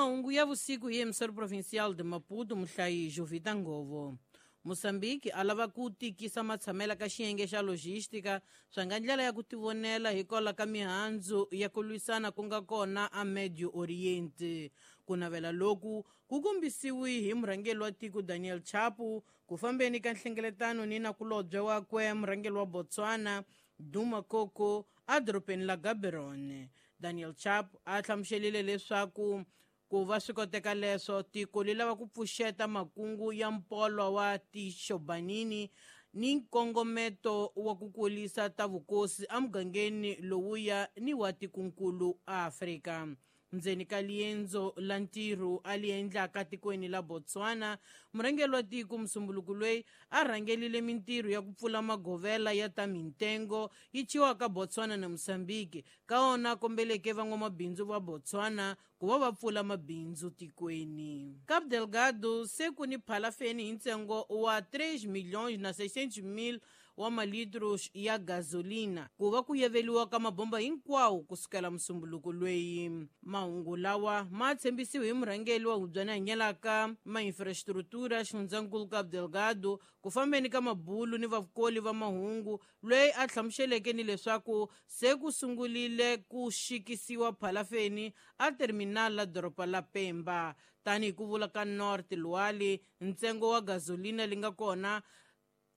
Mahungu ya vusiku hi Emissary Provincial de Maputo, muhlayi Jovita Ngovo. Mozambique a lava ku tikisa matshamela ka xiyenge xa logística swa nga ndlela ya ku tivonela hikwalaho ka mihandzu ya ku lwisana ku nga kona a Medio Oriente. Ku navela loku ku kombisiwi hi murhangeri wa tiko Daniel Chapo ku fambeni ka nhlengeletano ni nakulobye wakwe murhangeri wa Botswana Duma Koko edorobeni la Gaborone. Daniel Chapo a hlamuselile leswaku ku va swi koteka leswo tiko li lava ku pfuxeta makungu ya mpolo wa tixobanini ni nkongometo wa ku kulisa ta vukosi emugangeni lowuya ni wa tikunkulu Afrika. Ndzeni ka liendzo la ntirho a li endlaka tikweni la Botswana, murhangeri wa tiko musumbuluku loyi a rhangelile mintirho ya ku pfula magovela ya ta mintengo yi chiwaka Botswana na Mozambique, ka wona kombeleke van'wamabindzu va Botswana ku va va pfula mabindzu tikweni. Cabo Delgado se ku ni phalafeni hi ntsengo wa 3 milhões na 600 mil wa malitros ya gasolina ku va ku yeveliwa ka mabomba hinkwawo kusukela musumbuluko loyi. Mahungu lawa ma tshembisiwe hi murhangeri wa hubyana hanyelaka ma-infrastructura xifundzankulu Cabo Delgado ku fambeni ka mabulu ni vakoli va mahungu, loyi a hlamuseleke ni leswaku se ku sungulile ku xikisiwa phalafeni a terminal la doroba la Pemba. Tanihi ku vula ka North Luali, ntsengo wa gasolina li nga kona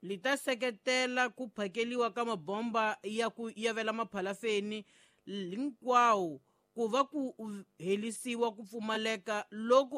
li ta seketela ku phakeliwa ka mabomba ya ku yavela maphalafeni hinkwawo ku va ku helisiwa ku pfumaleka loku